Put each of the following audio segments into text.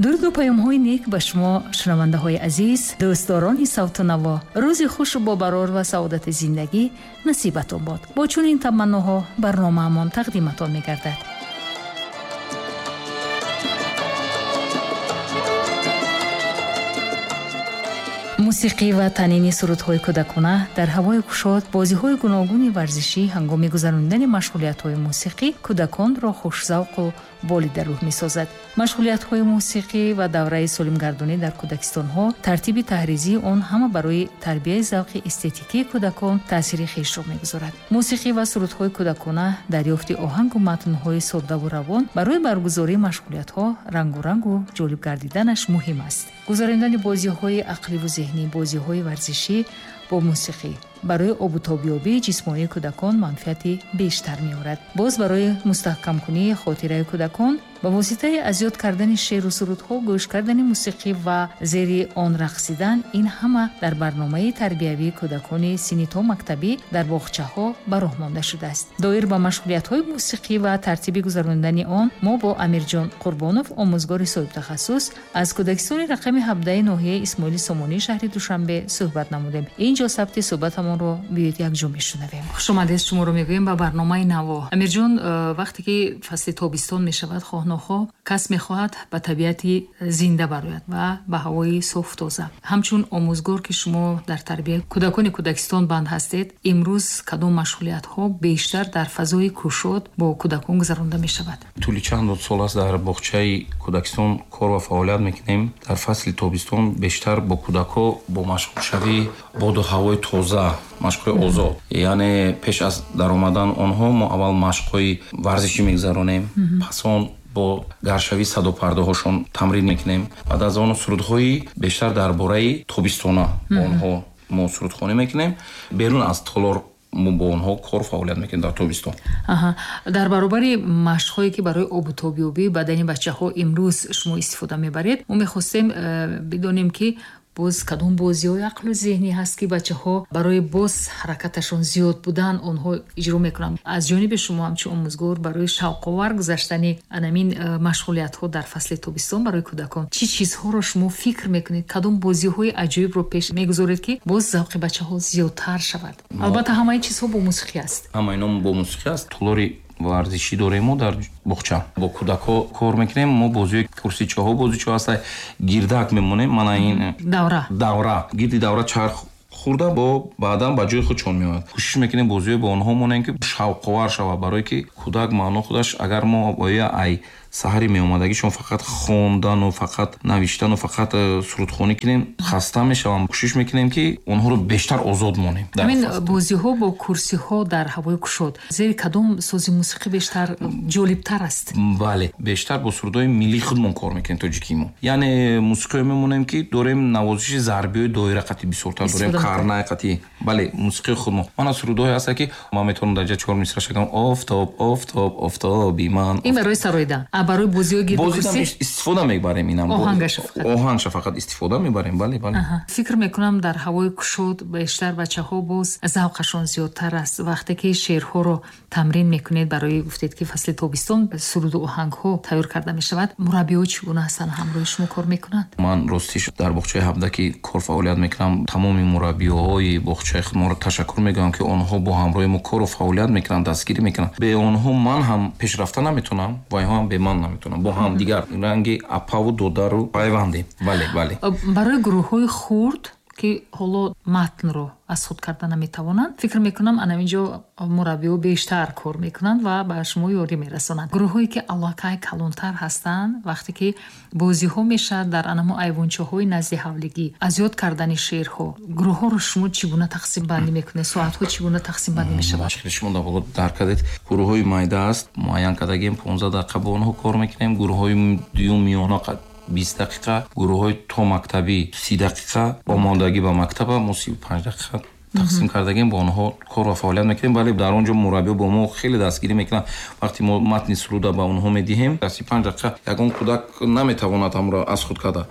Дуруду паёмҳои нек ба шумо, шунавандаҳои азиз, дӯстдорони савту наво. Рӯзи хушу бобарор ва саодати зиндагӣ насибатон бод. Бо чунин таманноҳо барномаамон тақдиматон мегардад. Мусиқӣ ва танини сурудҳои кӯдакона дар ҳавои кушод, бозиҳои гуногуни варзишӣ ҳангоми гузаронидани машғулиятҳои мусиқӣ кӯдаконро хушзавқу болидарӯҳ месозад. Машғулиятҳои мусиқӣ ва давраи солимгардонӣ дар кӯдакистонҳо, тартиби таҳризии он ҳама барои тарбияи завқи эстетикии кӯдакон таъсири хешро мегузорад. Мусиқӣ ва сурудҳои кӯдакона, дарёфти оҳангу матнҳои соддаву равон барои баргузории машғулиятҳо рангурангу ҷолиб гардиданаш муҳим аст. Гузаронидани бозиҳои ақливу зеҳнӣ, бозиҳои варзишӣ бо мусиқӣ барои обутобёбии ҷисмонии кӯдакон манфиати бештар меорад. Боз барои мустаҳкамкунии хотираи кӯдакон ба воситаи аз ёд кардани шеъру сурудҳо, гӯш кардани мусиқӣ ва зери он рақсидан, ин ҳама дар барномаи тарбиявии кӯдакони синни то мактабӣ дар боғчаҳо ба роҳ монда шудааст. Доир ба машғулиятҳои мусиқӣ ва тартиби гузаронидани он мо бо Амирҷон Қурбонов, омӯзгори соҳибтахассус аз кӯдакистони рақами 17 ноҳияи Исмоили Сомонии шаҳри Душанбе суҳбат намудем. Ин ҷо сабти суҳбатамонро биёед якҷо мешунавем. Хушомадед, шуморо мегӯем ба барномаи Наво. Амирҷон, вақте ки фасли тобистон мешавад, хоҳ кас мехоҳад ба табиати зинда барояд ва ба ҳавои соф тоза. Ҳамчун омӯзгор, ки шумо дар тарбияи кӯдакони кӯдакистон банд ҳастед, имрӯз кадом машғулиятҳо бештар дар фазои кушод бо кӯдакон гузаронда мешавад? Тӯли чанд сол аст дар боғчаи кӯдакистон кор ва фаъолият мекунем. Дар фасли тобистон бештар бо кӯдакҳо бо машғулшавии боду ҳавои тоза, машқҳои озод, яъне пеш аз даромадан онҳо мо аввал машқҳои варзишӣ мегузаронем, пас он бо гаршавии садопардаҳошон тамрин мекунем. Баъд аз он сурудҳои бештар дар бораи тобистона бо онҳо мо сурудхонӣ мекунем. Берун аз толор мо бо онҳо кор фаъолият мекунем дар тобистон. Дар баробари машқҳое ки барои обутобёбии бадани бачаҳо имрӯз шумо истифода мебаред, мо мехостем бидонем, ки боз кадом бозиҳои ақлу зеҳнӣ ҳаст, ки бачаҳо барои боз ҳаракаташон зиёд будан онҳо иҷро мекунанд. Аз ҷониби шумо ҳамчун омӯзгор барои шавқовар гузаштани анамин машғулиятҳо дар фасли тобистон барои кӯдакон чӣ чизҳоро шумо фикр мекунед, кадом бозиҳои аҷоибро пеш мегузоред, ки боз завқи бачаҳо зиёдтар шавад? Албатта, ҳамаи чизҳо бо мусиқӣ аст. Ҳамаи ино бо мусиқӣ аст. Толори варзишӣ дорем мо дар боғча, бо кӯдакҳо кор мекунем. Мо бозиҳои курсичаҳо, бозичаҳо ҳаста, гирдак мемонем, мана ин давра, давра, гирди давра чарх хӯрда, бо баъдан ба ҷои худшон меояд. Кӯшиш мекунем бозиҳое бо онҳо монем, ки шавқовар шавад, барое ки кӯдак маъно худаш агар мо оя ай саҳари меомадагишон фақат хондану фақат навиштану фақат сурудхонӣ кунем, хаста мешаванд. Кӯшиш мекунем, ки онҳоро бештар озод монем. Ҳамин бозиҳо бо курсиҳо дар ҳавои кушод зери кадом сози мусиқӣ бештар ҷолибтар аст? Бале, бештар бо сурудҳои миллии худмон кор мекунем, тоҷикии мо. Яъне мусиқиҳое мемонем, ки дорем навозиши зарбиҳои доира қатӣ бисёртар дорем, карнай қатӣ. Бале, мусиқии худмон. Мана сурудҳое ҳаста, ки ман метавонам дар ҷа чор мисра шагам: офтоб, офтоб, офтоби ман. Ин барои сароидан, барои бозиҳои гирди курсӣ истифода мебарем. Инам оҳангаша фақат, оҳангша фақат истифода мебарем. Бале, бале. Фикр мекунам, дар ҳавои кушод бештар бачаҳо боз завқашон зиёдтар аст. Вақте ки шеърҳоро тамрин мекунед, барои гуфтед, ки фасли тобистон суруду оҳангҳо тайёр карда мешавад, мураббиҳо чӣ гуна ҳастанд, ҳамроҳи шумо кор мекунанд? Ман ростиш дар боғчаи 17 ки кор фаъолият мекунам, тамоми мураббиҳои боғчаи худмонро ташаккур мегӯям, ки онҳо бо ҳамроҳи мо кору фаъолият мекунанд, дастгирӣ мекунанд. Бе онҳо ман ҳам пешрафта наметавонам ва инҳо ҳам бе ман наметавонам. Бо ҳам дигар ранги апаву додару пайвандем. Бале, бале. Барои гурӯҳҳои хурд, ки ҳоло матнро аз худ карда наметавонанд, фикр мекунам, ана инҷо мураббиҳо бештар кор мекунанд ва ба шумо ёрӣ мерасонанд. Гурӯҳҳое ки аллакай калонтар ҳастанд, вақте ки бозиҳо мешавад дар анамо айвончаҳои назди ҳавлигӣ, аз ёд кардани шеърҳо, гурӯҳҳоро шумо чӣ гуна тақсимбандӣ мекунед, соатҳо чӣ гуна тақсимбандӣ мешавад? Шумо дар боло дарк кардед, гурӯҳҳои майда аст, муайян кардагием, 15 дақиқа бо онҳо кор мекунем, гурӯҳҳои дуюм миёна 20 дақиқа, гурӯҳҳои то мактабӣ 30 дақиқа, омодагӣ ба мактаба мо 35 дақиқа. Тақсим кардагем, бо онҳо кор ва фаъолият мекунем. Бале, дар он ҷо мураббиҳо бо мо хеле дастгирӣ мекунанд. Вақте мо матни суруда ба онҳо медиҳем, дар 35 дақиқа ягон кӯдак наметавонад ҳамро аз худ карда.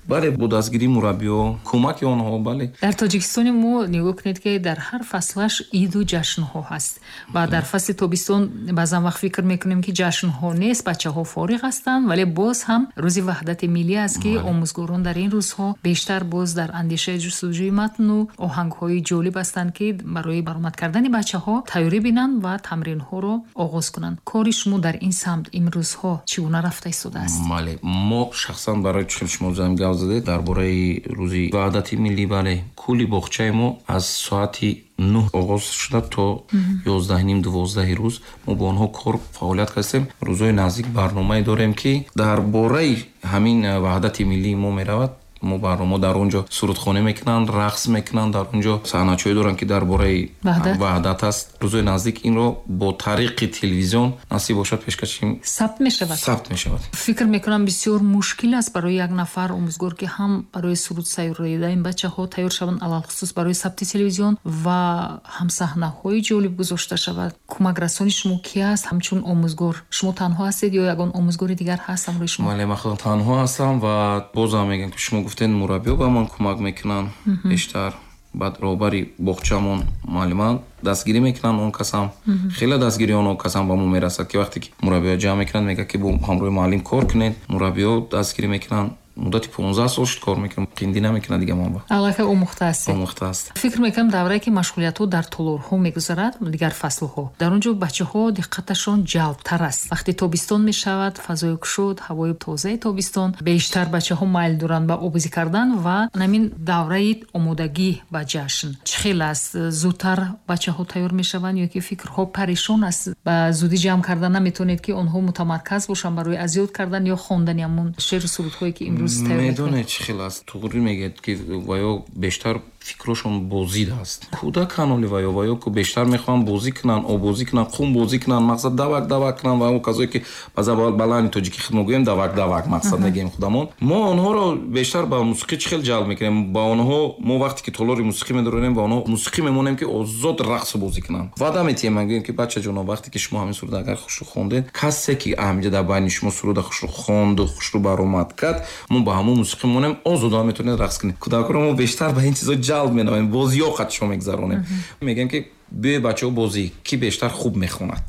Бале, бо дастгирии мураббиҳо, кӯмаки онҳо, бале. Дар Тоҷикистони мо нигоҳ кунед, ки дар ҳар фаслаш иду ҷашнҳо ҳаст ва дар фасли тобистон баъзан вақт фикр мекунем, ки ҷашнҳо нест, бачаҳо фориғ ҳастанд, вале боз ҳам рӯзи ваҳдати миллӣ аст, ки омӯзгорон дар ин рӯзҳо бештар боз дар андешаи ҷустуҷӯи матну оҳангҳои ҷолиб ҳастанд, ки барои баромад кардани бачаҳо тайёрӣ бинанд ва тамринҳоро оғоз кунанд. Кори шумо дар ин самт имрӯзҳо чӣ гуна рафта истодааст? Бале, мо шахсан барои чӣ шумо зам гап задед дар бораи рӯзи ваҳдати миллӣ, бале, кулли боғчаи мо аз соати 9 оғоз шуда то 11:30-12 рӯз мо бо онҳо кор фаъолият кардем. Рӯзҳои наздик барномае дорем, ки дар бораи ҳамин ваҳдати миллии мо меравад. Мо барнома дар он ҷо сурудхонӣ мекунанд, рақс мекунанд, дар он ҷо саҳначаҳое доранд, ки дар бораи ваҳдат аст. Рӯзҳои наздик инро бо тариқи телевизион насиб бошад пешкаши сабт мешавад. Сабт мешавад. Фикр мекунам, бисёр мушкил аст барои як нафар омӯзгор, ки ҳам барои суруд сайёраида ин бачаҳо тайёр шаванд, алалхусус барои сабти телевизион, ва ҳам саҳнаҳои ҷолиб гузошта шавад. Кӯмакрасони шумо ки аст ҳамчун омӯзгор? Шумо танҳо ҳастед ё ягон омӯзгори дигар ҳаст ҳамроҳи шумо? Бале, ман худам танҳо ҳастам ва бозам мегӯям, ки шумо гуфтед, мураббиҳо ба ман кӯмак мекунанд бештар. Баъд роҳбари боғчамон муаллиман дастгирӣ мекунанд, он касам хеле дастгирии он касам ба мо мерасад, ки вақте ки мураббиҳо ҷамъ мекунанд, мегӯяд, ки бо ҳамроҳи муаллим кор кунед. Мураббиҳо дастгирӣ мекунанд. Муддати 15 сол шуд кор мекунам, қиндӣ намекунад дига ман ба. Аллакай омӯхта ҳастед. Омӯхта аст. Фикр мекунам, даврае ки машғулиятҳо дар толорҳо мегузарад, дигар фаслҳо, дар он ҷо бачаҳо диққаташон ҷалбтар аст. Вақте тобистон мешавад, фазои кушод, ҳавои тозаи тобистон, бештар бачаҳо майл доранд ба обозӣ кардан ва ҳамин давраи омодагӣ ба ҷашн чӣ хел аст? Зудтар бачаҳо тайёр мешаванд ё ки фикрҳо парешон аст, ба зудӣ ҷамъ кардан наметавонед, ки онҳо мутамарказ бошанд барои аз ёд кардан ё хондани ҳамон шеъру сурудҳое, ки имрӯз Медонед, чӣ хел аст? Туғрӣ мегӯяд, ки ваё бештар фикрошон бозид аст. Кӯдакан оли ваё ку бештар мехоҳанд бозӣ кунанд, обозӣ кунанд, қум бозӣ кунанд, мақсад давак давак кунанд ва он касое ки ба балани тоҷикӣ худ мо гӯем давак давак мақсад мегӯем худамон. Мо онҳоро бештар ба мусиқӣ чӣ хел ҷалб мекунем? Ба онҳо мо вақте ки толори мусиқӣ медаронем, ба онҳо мусиқӣ мемонем, ки озод рақсу бозӣ кунанд. Ваъда метиҳем, ман гӯем, ки бачаҷоно, вақте ки шумо ҳамин суруда агар хушрӯ хондед, касе ки ҳаминҷа дар байни шумо суруда хушрӯ хонду хушрӯ баромад кард, мо ба ҳамон мусиқӣ монем, озодона метавонед рақс кунед. Кӯдаконро мо бештар ба ин чизо ҷалб менамоем, бозиҳо қадшо мегузаронем. Мегӯем, ки биёед, бачаҳо, бозӣ, ки бештар хуб мехонад,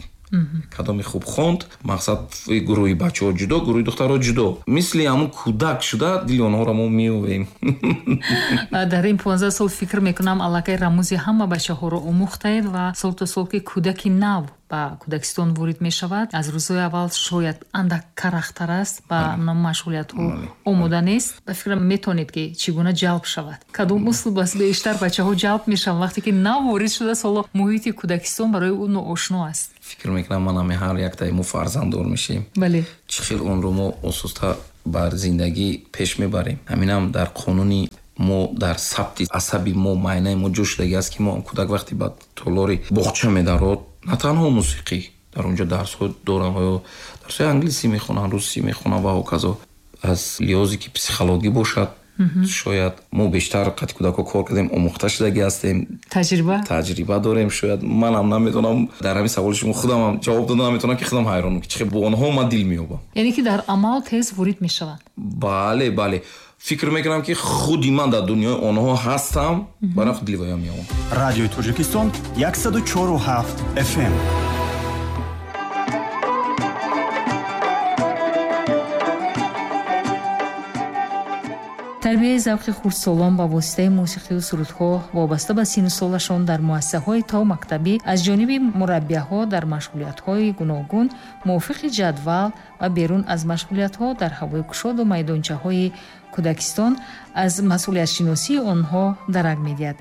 кадоме хуб хонд, мақсад гурӯҳи бачаҳо ҷудо, гурӯҳи духтарҳо ҷудо, мисли ҳамун кӯдак шуда дили онҳоро мо меёвем. Дар ин 15 сол, фикр мекунам, аллакай рамӯзи ҳама бачаҳоро омӯхтаед ва сол то сол ки кӯдаки нав ба кӯдакистон ворид мешавад, аз рӯзҳои аввал шояд андак карахтар аст, ба машғулиятҳо омода нест. Ба фикрам, метавонед, ки чӣ гуна ҷалб шавад, кадом услуб аст бештар бачаҳо ҷалб мешаванд, вақте ки нав ворид шудааст, ҳоло муҳити кӯдакистон барои ӯ ноошно аст? Фикр мекунам, ман ҳами ҳар яктаи мо фарзанддор мешавем, чӣ хел онро мо ососта бар зиндагӣ пеш мебарем. Ҳаминам дар қонуни мо, дар сабти асаби мо, майнаи мо ҷо шудагӣ аст, ки мо кӯдак вақте ба толори боғча медарод, на танҳо мусиқӣ, дар он ҷо дарсҳо доранд ва ё дарсҳои англисӣ мехонанд, русӣ мехонанд ва ҳоказо. Аз лиҳозе ки психологӣ бошад, шояд мо бештар қати кӯдакҳо кор кардем, омӯхта шудагӣ ҳастем, таҷриба таҷриба дорем. Шояд манам намедонам, дар ҳамин саволи шумо худамам ҷавоб дода наметавонам, ки худам ҳайронам, ки чӣ хел бо онҳо ман дил меёбам. Яъне ки дар амал тез ворид мешаванд. Бале, бале, фикр мекунам, ки худи ман дар дунёи онҳо ҳастам, барои худ дили ваё меёбам. Радиои Тоҷикистон, 104,7 FM. Тарбияи завқи хурдсолон ба воситаи мусиқию сурудҳо вобаста ба синну солашон дар муассисаҳои томактабӣ аз ҷониби мураббияҳо дар машғулиятҳои гуногун мувофиқи ҷадвал ва берун аз машғулиятҳо дар ҳавои кушоду майдончаҳои кӯдакистон аз масъулиятшиносии онҳо дарак медиҳад.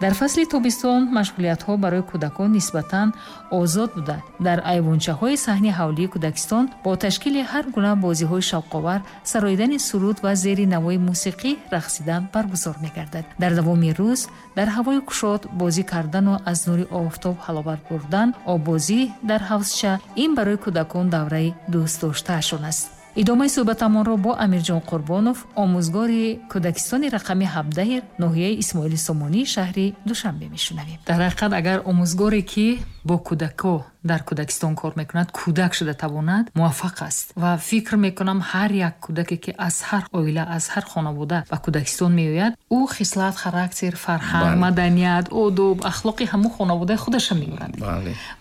Дар фасли тобистон машғулиятҳо барои кӯдакон нисбатан озод буда, дар айвончаҳои саҳни ҳавлии кӯдакистон бо ташкили ҳар гуна бозиҳои шавқовар, сароидани суруд ва зери навои мусиқӣ рақсидан баргузор мегардад. Дар давоми рӯз дар ҳавои кушод бозӣ кардану аз нури офтоб ҳаловат бурдан, оббозӣ дар ҳавзча — ин барои кӯдакон давраи дӯстдоштаашон аст. Идомаи суҳбатамонро бо Амирҷон Қурбонов, омӯзгори кӯдакистони рақами 17 ноҳияи Исмоили Сомонӣ шаҳри Душанбе мешунавем. Дар ҳақиқат, агар омӯзгоре, ки бо кӯдако дар кӯдакистон кор мекунад, кӯдак шуда тавонад, муваффақ аст. Ва фикр мекунам, ҳар як кӯдаке, ки аз ҳар оила, аз ҳар хонавода ба кӯдакистон меояд, ӯ хислат, характер, фарҳанг, маданият, одоб, ахлоқи ҳамун хонаводаи худаша меорад.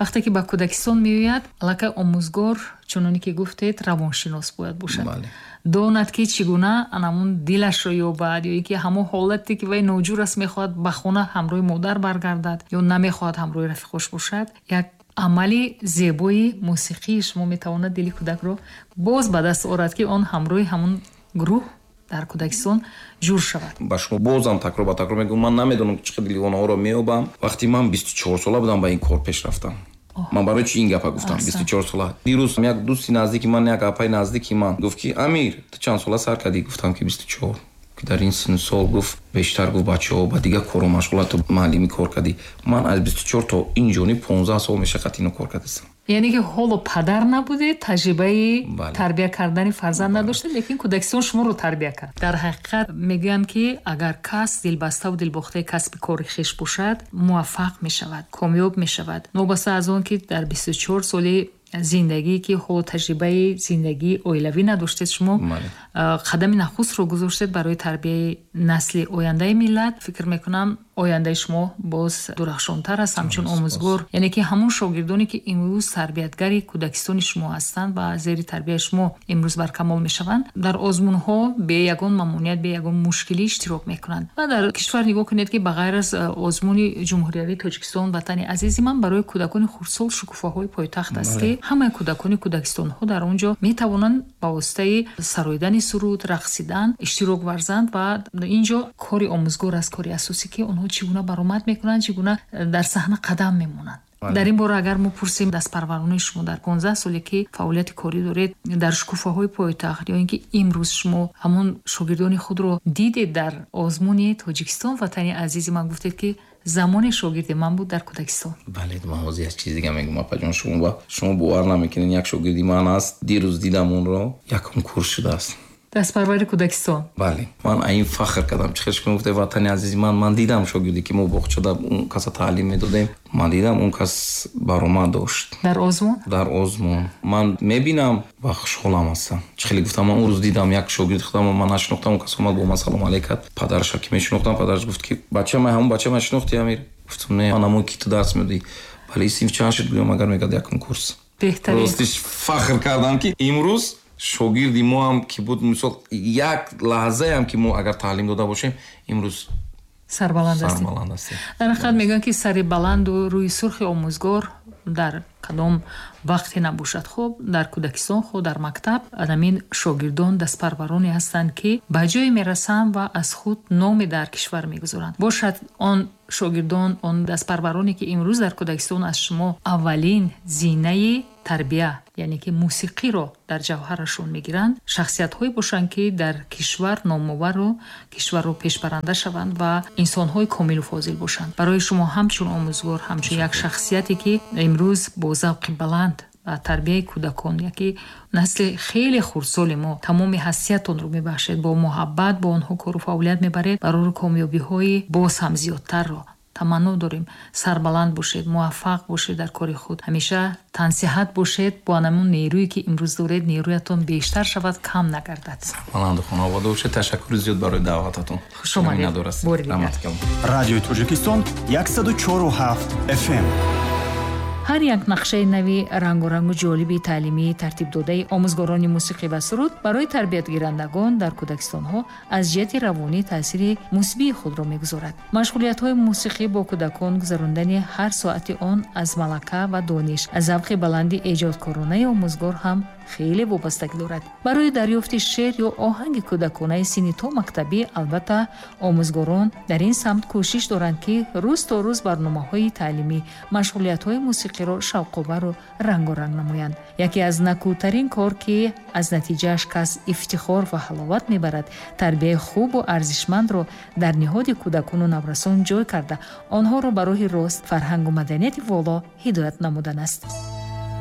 Вақте ки ба кӯдакистон меояд, аллакай омӯзгор, чуноне ки гуфтед, равоншинос бояд бошад, донад, ки чӣ гуна анамун дилашро ёбад, ё ин ки ҳамон ҳолате, ки вай ноҷур аст, мехоҳад ба хона ҳамроҳи модар баргардад ё намехоҳад ҳамроҳи рафиқош бошад. Як амали зебои мусиқии шумо метавонад дили кӯдакро боз ба даст орад, ки он ҳамроҳи ҳамун гурӯҳ дар кӯдакистон ҷур шавад. Ба шумо бозам такрор ба такрор мегӯям, ман намедонам, чӣ қадр дили онҳоро меёбам. Вақте ман 24 сола будам, ба ин кор пеш рафтам. Ман барои чи ин гапа гуфтам, 24 сола? Дирӯз як дӯсти наздики ман, як апаи наздики ман гуфт, ки Амир, ту чанд сола сар кардӣ? Гуфтам, ки 24. Ки дар ин синну сол, гуфт, бештар, гуфт, бачаҳо ба дигар корро машғулат, ту муаллимӣ кор кардӣ. Ман аз 24 то ин ҷониб 15 сол мешаққат ино кор кардастам. Яъне ки ҳоло падар набудед, таҷрибаи тарбия кардани фарзанд надоштед, лекин кӯдакистон шуморо тарбия кард. Дар ҳақиқат, мегӯянд, ки агар кас дилбаставу дилбохтаи касби кори хеш бошад, муваффақ мешавад, комёб мешавад. Новобаста аз он ки дар 24 соли зиндагие, ки ҳоло таҷрибаи зиндагии оилавӣ надоштед, шумо қадами нахустро гузоштед барои тарбияи насли ояндаи миллат. Фикр мекунам, ояндаи шумо боз дурахшонтар аст ҳамчун омӯзгор. Яъне ки ҳамон шогирдоне, ки имрӯз тарбиятгари кӯдакистони шумо ҳастанд ва зери тарбияи шумо имрӯз баркамол мешаванд, дар озмунҳо бе ягон мамоният, бе ягон мушкилӣ иштирок мекунанд. Ва дар кишвар нигоҳ кунед, ки ба ғайр аз озмуни ҷумҳуриявии Тоҷикистон «Ватани азизи ман», барои кӯдакони хурдсол «Шукуфаҳои пойтахт» аст, ки ҳамаи кӯдакони кӯдакистонҳо дар он ҷо метавонанд ба воситаи сароидани суруд, рақсидан иштирок варзанд. Ва ин ҷо кори омӯзгор аст, кори асосӣ, ки онҳо чӣ гуна баромад мекунанд, чӣ гуна дар саҳна қадам мемонанд. Дар ин бора агар мо пурсем, дастпарварони шумо дар 15 соле, ки фаъолияти корӣ доред, дар «Шукуфаҳои пойтахт» ё ин ки имрӯз шумо ҳамон шогирдони худро дидед дар озмуни Тоҷикистон «Ватани азизи ман», гуфтед, ки замоне шогирди ман буд дар кӯдакистон. Бале, ман ҳозир як чиз дига мегӯм, апаҷон, шумо бовар намекунед, як шогирди ман аст, дирӯз дидам онро, якум курс шудааст. Дастпарвари кӯдакистон. Бале, ман ин фахр кардам. Чӣ хел гуфте «Ватани азизи ман», ман дидам шогирде, ки мо боғчада он каса таълим медодем, ман дидам, он кас баромад дошт. Дар озмун. Дар озмун. Ман мебинам ва хушҳолам ҳастам. Чӣ хеле гуфтам, ман он рӯз дидам як шогирди худам, ман нашинохтам, он кас омад, бо ман салом алейк кард. Падараша ки мешинохтам, падараш гуфт, ки бача ман, ҳамон бача ман шинохти, Амир? Гуфтам, не, ман ҳамон, ки ту дарс медодӣ. Бале, синф чанд шуд, гӯям, агар мегӯяд, якум курс. Беҳтарин. Ростиш, фахр кардам, ки имрӯз шогирди мо ҳам ки буд, мисол, як лаҳзаам ки мо агар таълим дода бошем, имрӯз сарбаланд ҳастем. Сарбаланд ҳастем. Дар ҳақиқат, мегӯянд, ки сари баланду рӯи сурхи омӯзгор дар кадом вақте набошад, хуб дар кӯдакистон, хуб дар мактаб, анамин шогирдон дастпарвароне ҳастанд, ки ба ҷое мерасанд ва аз худ номе дар кишвар мегузоранд. Бошад, он шогирдон, он дастпарвароне, ки имрӯз дар кӯдакистон аз шумо аввалин зинаи тарбия, яъне ки мусиқиро дар ҷавҳарашон мегиранд, шахсиятҳое бошанд, ки дар кишвар номовару кишварро пешбаранда шаванд ва инсонҳои комилу фозил бошанд. Барои шумо ҳамчун омӯзгор, ҳамчун як шахсияте, ки имрӯз бо завқи баланд ба тарбияи кӯдакон, яке насли хеле хурдсоли мо, тамоми ҳастиятонро мебахшед, бо муҳаббат бо онҳо кору фаъолият мебаред, барори комёбиҳои боз ҳам зиёдтарро таманно дорем. Сарбаланд бошед, муваффақ бошед дар кори худ, ҳамеша тансиҳат бошед. Бо анамун нерӯе, ки имрӯз доред, нерӯятон бештар шавад, кам нагардад. Баланду хонавода бошед. Ташаккури зиёд барои даъвататон. Хуш омадед бори дигар. Радиои Тоҷикистон, 104,7 FM. Ҳар як нақшаи нави рангорангу ҷолиби таълимии тартибдодаи омӯзгорони мусиқӣ ва суруд барои тарбиятгирандагон дар кӯдакистонҳо аз ҷиҳати равонӣ таъсири мусбии худро мегузорад. Машғулиятҳои мусиқӣ бо кӯдакон, гузарондани ҳар соати он аз малака ва дониш, аз завқи баланди эҷодкоронаи омӯзгор ҳам хеле вобастагӣ дорад. Барои дарёфти шеър ё оҳанги кӯдаконаи синни то мактабӣ, албатта, омӯзгорон дар ин самт кӯшиш доранд, ки рӯз то рӯз барномаҳои таълимӣ, машғулиятҳои мусиқиро шавқовару рангоранг намоянд. Яке аз накӯтарин кор, ки аз натиҷааш кас ифтихор ва ҳаловат мебарад, тарбияи хубу арзишмандро дар ниҳоди кӯдакону наврасон ҷой карда, онҳоро ба роҳи рост, фарҳангу маданияти воло ҳидоят намудан аст.